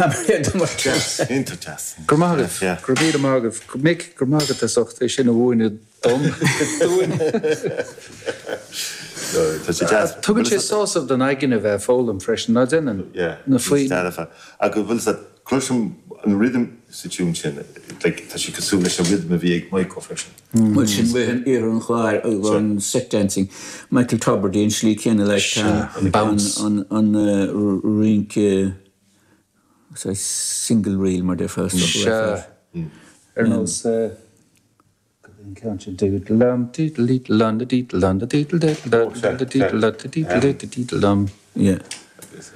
Deas, iontach deas. Go raibh maith agaibh. Go raibh míle maith agaibh. Mick, go raibh maith agat as ucht é sin a mhúineadh dom, dúinn. Tá sé deas. Tugann sé sásamh don aigne a bheith ag foghlaim freisin, ná déanann? Yeah, Na foinn. Dearfa. Agus bhfuil fhios agat, cloisim an rhythm sa tiún sin, like, tá sé cosúil leis an rhythm a bhí ag Maidhcó freisin. Bhuel sin rith an iarthar an Chláir agus an set dancing, Michael Tubridy an slí céanna like Sea, an bounce. an an rince saghas single reel mar déarfá is dócha Sea, ar nós cad é an ceann sin diddle-dum diddle-dee-dum diddle-dum diddle-diddle-dum diddle-diddle-dum. Yeah. Agus.